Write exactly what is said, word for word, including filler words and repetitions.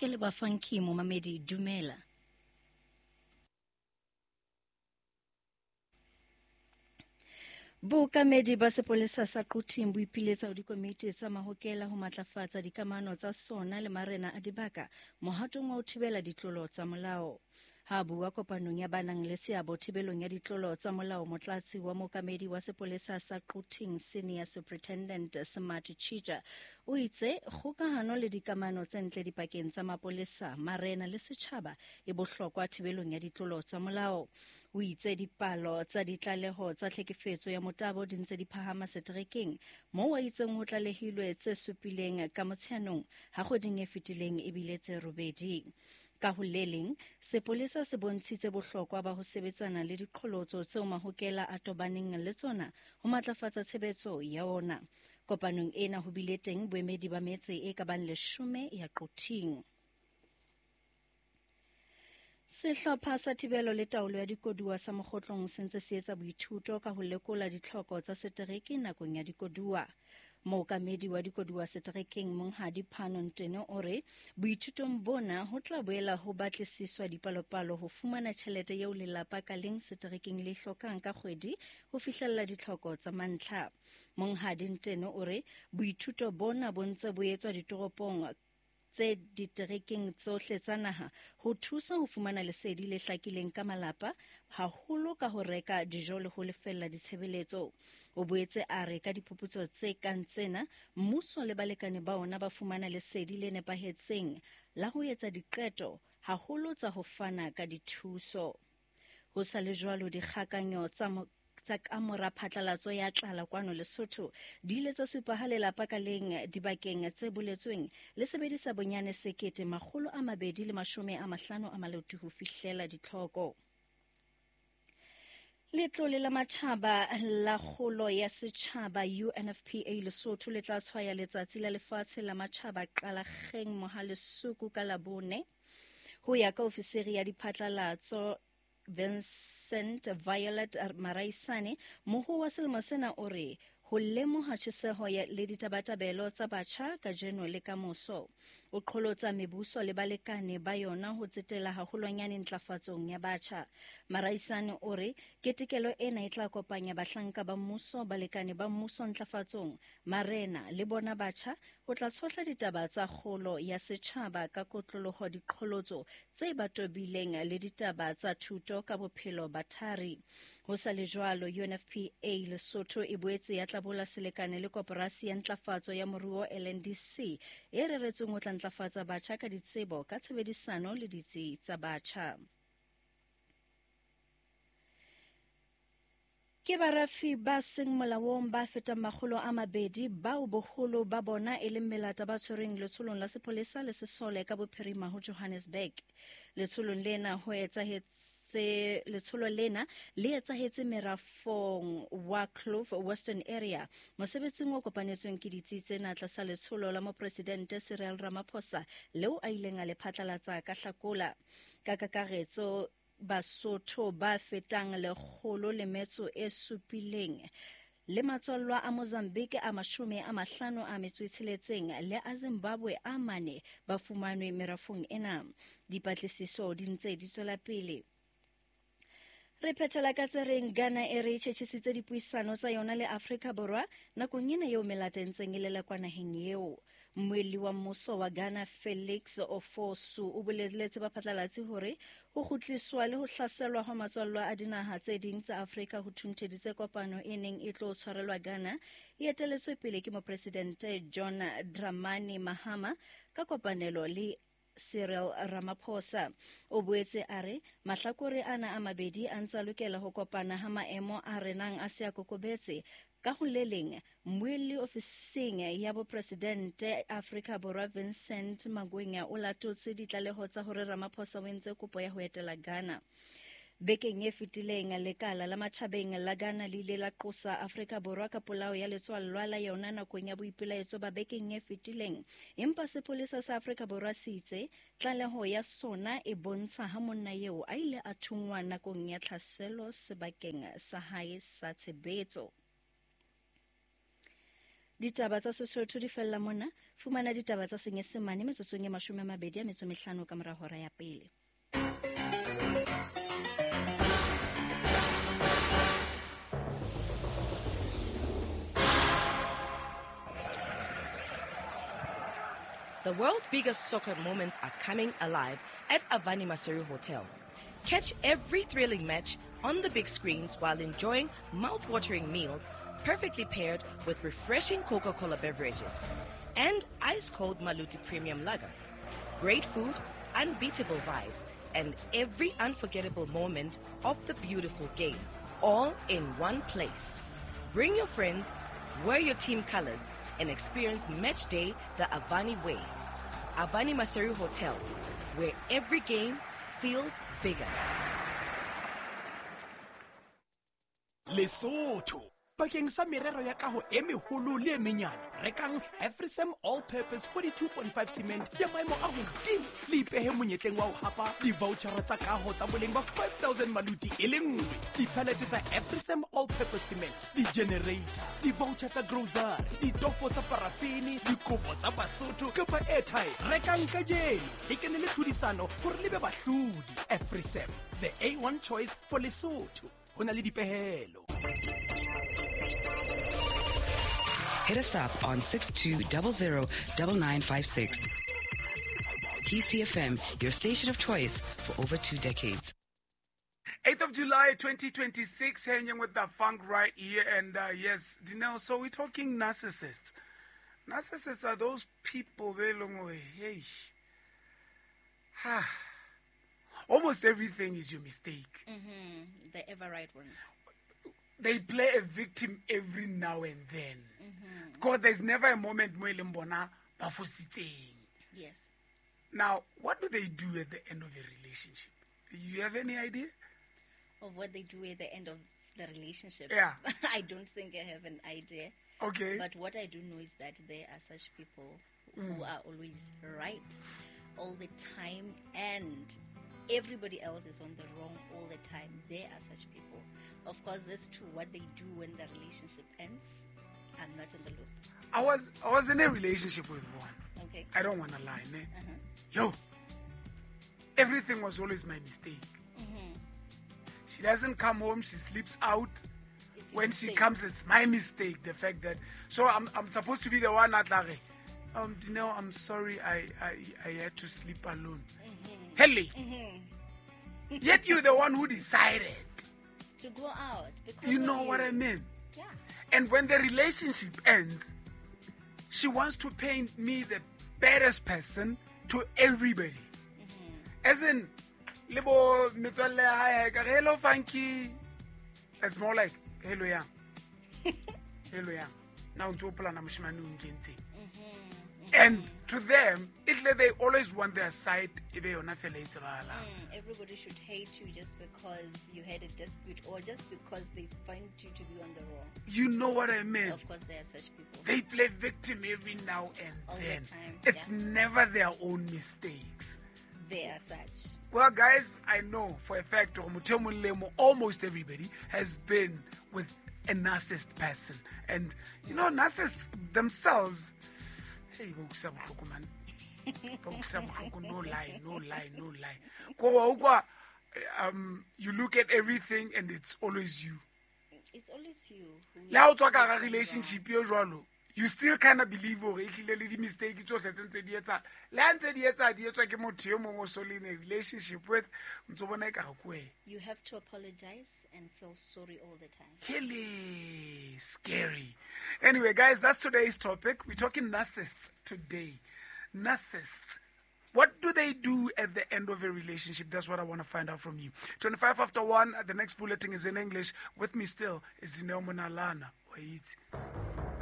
Ke le Bafanki momamedi, dumela. Bookamedi ba sepolesa sa Quthing bo ipiletsa ho dikomiti tsa mahokela ho matlafatsa dikamano tsa sona le marena a dibaka mohatong wa ho thibela ditlolo tsa molao. Ha bua kopanong ya ba nang le seabo thibelong ya ditlolo tsa molao, motlatsi wa mookamedi wa sepolesa sa Quthing Senior Superintendent Smart Chija o itse kgokahano le dikamano tse ntle dipakeng tsa mapolesa, marena le setjhaba e bohlokwa thibelong ya ditlolo tsa molao. O itse dipalo tsa ditlaleho tsa tlhekefetso ya motabo di ntse di phahama seterekeng, moo a itseng ho tlalehilwe tse supileng ka Motsheanong ha kgweding e fetileng ebile tse robedi. Ka ho le leng, sepolesa se bontshitse bohlokwa ba ho sebetsana le diqholotso tseo mahokela a tobaneng le tsona ho matlafatsa tshebetso ya ona. Kopanong ena ho bile teng boemedi ba metse e ka bang leshome ya Quthing. Sehlopha sa thibelo le taolo ya dikoduwa sa Mokgotlong se ntse se etsa boithuto ka ho lekola ditlhoko tsa setereke nakong ya dikoduwa. Mookamedi wa dikoduwa seterekeng Monghadi Phano Ntene o re boithutong bona ho tla boela ho batlisiswa dipalopalo ho fumana tjhelete eo lelapa ka leng seterekeng le hlokang ka kgwedi ho fihlella ditlhoko tsa mantlha. Monghadi Ntene o re boithuto bona bo ntse bo etswa ditoropong tse diterekeng tsohle tsa naha ho thusa ho fumana lesedi le hlakileng ka malapa, haholo ka ho reka dijo le ho lefella ditshebeletso. O boetse a re ka diphuputso tse kang tsena, mmuso le balekane ba ona ba fumana lesedi le nepahetseng la ho etsa diqeto, haholo tsa ho fana ka dithuso. Ho sa le jwalo, dikgakanyo tsa tsa kamora phatlalatso ya tlala kwano Lesotho di ile tsa supa ha lelapa ka leng dibakeng tse boletsweng le sebedisa bonyane sekete makgolo a mabedi le mashome a mahlano a maloti ho fihlela ditlhoko. Letlole la matjhaba la kgolo ya setjhaba U N F P A Lesotho le tla tshwaya letsatsi la lefatshe la matjhaba Qalakgeng Mohalesuku ka Labone. Ho ya ka ofisiri ya diphatlalatso Vincent Violet Maraisane, moho wa selemo sena o re ho lemoha tjheseho le ditabatabelo tsa batjha kajeno le kamoso. O qholotsa mebuso le balekane ba yona ho tsetela haholwanyane ntlafatsong ya batjha. Maraisane o re ketekelo ena e tla kopanya bahlanka ba mmuso, balekane ba mmuso ntlafatsong, marena le bona batjha ho tla tshohla ditaba tsa kgolo ya setjhaba ka kotloloho diqholotso tse ba tobileng le ditaba tsa thuto ka bophelo ba thari. Ho sa le jwalo, U N F P A Lesotho e boetse ya tlabola selekane le koporasi ya ntlafatso ya moruo L N D C e reretsweng ho tla ntlafatsa batjha ka ditsebo ka tshebedisano le ditsi tsa batjha. Ke barafi ba seng molaong ba fetang makgolo a mabedi bao boholo ba bona e leng melata ba tshwerweng letsholong la sepolesa le sesole ka bophirima ho Johannesburg. Letsholong lena ho etsahetse letsholo lena le etsahetse merafong wa Kloof Western Area mosebetsing o kopanetsweng ke ditsi tsena tlasa letsholo la mopresidente Cyril Ramaphosa leo a ileng a le phatlalatsa ka Hlakola. Ka kakaretso Basotho ba fetang lekgolo le metso e supileng le matswallwa a Mozambique a mashome a mahlano a metso e tsheletseng le a Zimbabwe a mane ba fumanwe merafong ena. Dipatlisiso di ntse di tswela pele. Re phethela ka tse reng Ghana e re tjhetjhisitse dipuisano tsa yona le Afrika Borwa nakong ena eo melata e ntseng e lelekwa naheng eo. Mmuelli wa mmuso wa Ghana Felix Ofosu o boleletse baphatlalatsi hore ho kgutliswa le ho hlaselwa ha matswallwa a dinaha tse ding tsa Afrika ho thuntheditse kopano e neng e tlo tshwarelwa Ghana e eteletswe pele ke mopresidente John Dramani Mahama ka kopanelo le Cyril Ramaphosa. O boetse a re mahlakore ana a mabedi a ntsa lokela ho kopana ha maemo a renang a se a kokobetse. Ka ho le leng, mmuelli ofising ya bopresidente Afrika Borwa Vincent Magwenya o latotse ditlaleho tsa hore Ramaphosa o entse kopo ya ho etela Ghana. Bekeng e fetileng, lekala la matjhabeng la Ghana le ile la qosa Afrika Borwa ka polao ya letswallwa la yona nakong ya boipelaetso ba bekeng e fetileng. Empa sepolesa sa Afrika Borwa se itse tlaleho ya sona e bontsha ha monna eo a ile a thunngwa nakong ya tlhaselo sebakeng sa hae sa tshebetso. Ditaba tsa Sesotho di fella mona. Fumana ditaba tsa Senyesemane metsotsong e mashome a mabedi a metso mehlano ka mora hora ya pele. The world's biggest soccer moments are coming alive at Avani Maseru Hotel. Catch every thrilling match on the big screens while enjoying mouth-watering meals perfectly paired with refreshing Coca-Cola beverages and ice-cold Maluti Premium Lager. Great food, unbeatable vibes, and every unforgettable moment of the beautiful game, all in one place. Bring your friends, wear your team colors, and experience match day the Avani way. Avani Maseru Hotel, where every game feels bigger. Lesotho. Bakeng sa merero ya kaho e meholo le e menyane, rekang Afrisem All Purpose forty-two point five cement ya maemo a hodimo le ipehe monyetleng wa ho hapa di-vouchera tsa kaho tsa boleng ba five thousand maluti e le nngwe, di-pallet tsa Afrisem All Purpose cement, di-generator, di-voucher tsa grocery, ditofo tsa parafini, dikopo tsa Basotho kapa airtime. Rekang kajeno le kene le tlhodisano hore le be bahlodi. Afrisem, the A one choice for Lesotho. Ho na le dipehelo. Hit us up on six two zero zero nine nine five six. P C F M, your station of choice for over two decades. eighth of July, twenty twenty-six, hanging with the funk right here. And uh, yes, Dineo, so we're talking narcissists. Narcissists are those people, hey, almost everything is your mistake. Mm-hmm. The ever right ones. They play a victim every now and then. Mm-hmm. Because there's never a moment mo e leng bona ba fositseng. Yes. Now, what do they do at the end of a relationship? You have any idea? Of what they do at the end of the relationship? Yeah. I don't think I have an idea. Okay. But what I do know is that there are such people mm. who are always right all the time, and everybody else is on the wrong all the time. There are such people. Of course, as to what they do when the relationship ends, I'm not in the loop. I was I was in a relationship with one. Okay. I don't want to lie, ne? Uh-huh. Yo, everything was always my mistake. Mm-hmm. She doesn't come home. She sleeps out. It's When mistake. She comes, it's my mistake. The fact that so I'm I'm supposed to be the one at Lare. Um, Dineo, I'm sorry. I, I I had to sleep alone. Mm-hmm. Helly. Mm-hmm. Yet you're the one who decided to go out. Because You know you. what I mean? Yeah. And when the relationship ends, she wants to paint me the baddest person to everybody. Mm-hmm. As in, lebo metswalle ya hae, ka re, hello funky. It's more like hello yang. Hello yang. Now ntse o polana moshemane o nkentseng. Mm-hmm. And to them, it, they always want their side. E be yona fela e tsebahalang. Mm, everybody should hate you just because you had a dispute or just because they find you to be on the wrong. You know what I mean? Of course, there are such people. They play victim every now and All the then. time, It's yeah. never their own mistakes. They are such. Well, guys, I know for a fact, almost everybody has been with a narcissist person. And, you know, narcissists themselves, hey, ba utlwisa bohloko, man. Ba utlwisa bohloko, no lie, no lie, no lie. Ko wa utlwa, um, you look at everything and it's always you. It's always you. Le ha o tswa ka hara relationship eo jwalo, you still kind of believe hore ehlile le di-mistake tsohle tse ntse di etsahala. Le ha ntse di etsahala, di etswa ke motho e mong o so le in a relationship with, o ntso bona ekare ke wena. You have to apologize and feel sorry all the time. Really scary. Anyway, guys, that's today's topic. We're talking narcissists today. Narcissists. What do they do at the end of a relationship? That's what I want to find out from you. twenty-five after one, the next bulletin is in English. With me still is Dineo Monalana. Wait.